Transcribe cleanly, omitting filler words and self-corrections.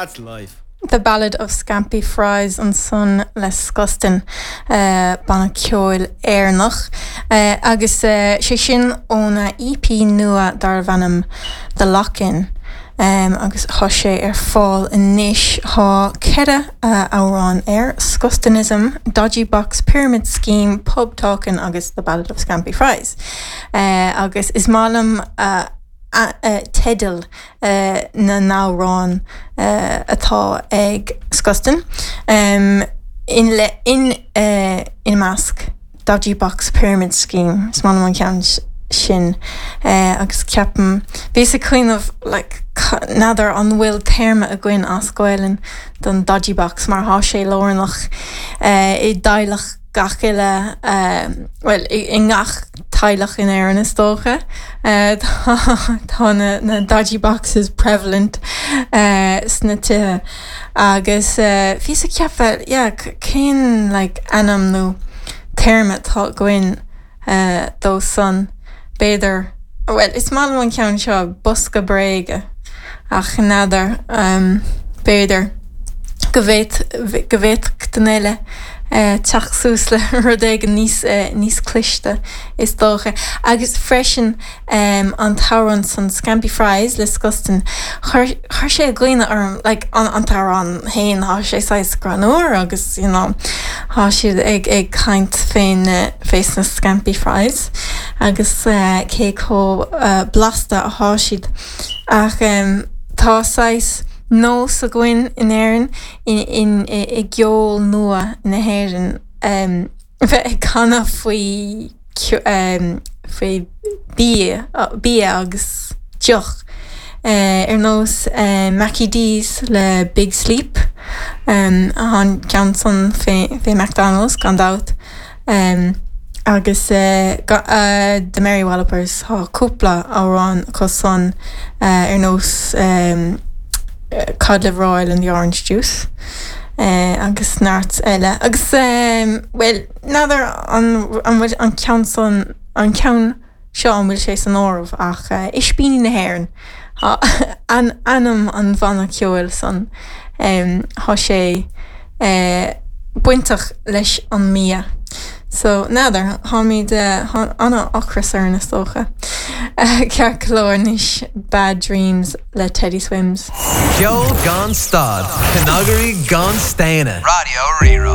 That's life. The Ballad of Scampy Fries ansan le Skuston, banna ceoil Éireannach, agus sé sin óna EP nua darbh ainm The Lock In agus tá sé ar fáil anois. Tá 4 amhrán air, Skustonism, Dodgy Box Pyramid Scheme, Pub Talkin' agus The Ballad of Scampy Fries. Agus is maith liom teidil na n-amhrán atá ag Skuston, ina measc Dodgy Box Pyramid Scheme, is maith liom an ceann sin agus ceapaim, bhíos ag cuimhneamh like n'fheadar an bhfuil téarma againn as Gaelainn don Dodgy Box mar thá sé lárnach i dteaghlach gach uile, bhuel, i ngach teaghlach in Éirinn is dócha. Tá na dodgy boxes prevalent sna tithe agus bhíos ag ceapadh, yeah, cén like ainm nó téarma atá againn dó san? B'fhéidir, bhuel, is maith liom an ceann seo, bosca bréige, ach n'fheadar, b'fhéidir go bhféad, go bhféadfadh duine eile teacht suas le rud éigin níos, níos cliste, is dócha. Agus freisin, an t-amhrán san, Scampy Fries le Skuston, chuir, chuir sé i gcuimhne orm, like, an, an t-amhrán féin, tá sé saghas greannmhar agus, you know, tá siad ag, ag caint fén, fés na Scampy Fries agus cé chomh blasta athá siad. Ach tá saghas nós againn in Éirinn, in, i gceol nua na hÉireann, bheith ag canadh faoi faoi bia, bia agus deoch, ar nós Mackie D's le Big Sleep, an ceann san fé McDonald's gan dabht, agus The Mary Wallopers, tá cúpla amhrán acu san ar nós Cod Liver Oil and the Orange Juice agus neart eile. Agus bhuel, n'fheadar an bhfuil an ceann san, an ceann seo an bhfuil sé san áireamh ach Ispíní na hÉireann ainm an bhanna ceoil san. Tá sé bainteach leis an mbia. So, n'fheadar, táimid, tá an-ocras orainn is dócha. Ceart go leor anois, Bad Dreams le Teddy Swims. Ceol gan stad, cnagairí gan staonadh. Raidió Rí-Rá.